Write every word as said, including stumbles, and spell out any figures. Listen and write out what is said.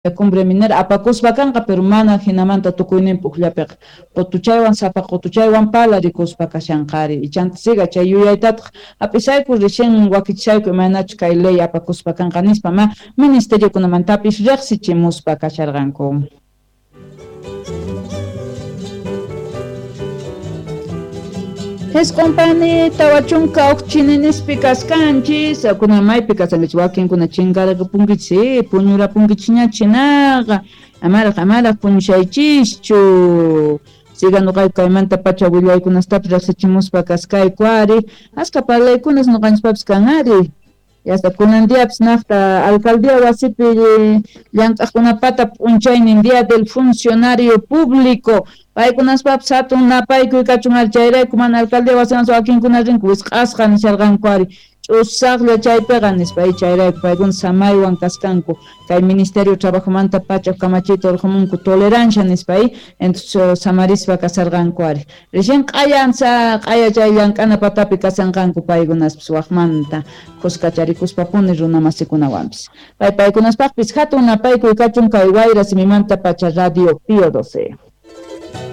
Cumbre minera apakuspa kanqa, pero mana jinamanta tukuyninpi ujllapiqa qutuchaywan sapa qutuchaywan palarikuspa kashanqari. Ichanta siga chay yuyaytataq hap'isayku recién wakichishayku imaynachus kay ley apakuspa kanqa nispa ma ministeriokunamantapis riqsichimuspa kasharqanku. Jisq'unpani tawa chunka huk chininispi kaskanchis, kunan maypi kasankichis wakinkuna chinkarakapunkichis, puñurapunkichis chinaqa, amaraq amaraq puñushaychischu. Siga nuqayku kaymanta pacha willaykunastapis riqsichimuspa kaskayku ari, aska parlaykunas nuqanchispapis kan ari. Hasta kunan diapis naqta alcaldía wasipi llank'aqkunapata p'unchaynin día del funcionario público paykunaspapis hatun napaykuy kachun ari, chayrayku mana alcaldía wasiman wakinkuna rinku wisq'asqa nisharqanku ari, ch'usaqlla chaypiqa nispa, chayrayku paykuna samaywan kaskanku kay ministerio trabajomanta pacha kamachiyta urqumunku tolerancia nispa, entonces samarispa kasarqanku ari. Recién q'ayansa q'aya chay llank'ana patapi kasanqanku paykunaspis waqmanta khuskacharikuspapuni runa masikunawanpis. Pay paykunaspaqpis hatun napaykuy kachun kay Wayra simimanta pacha Radio Pío doce.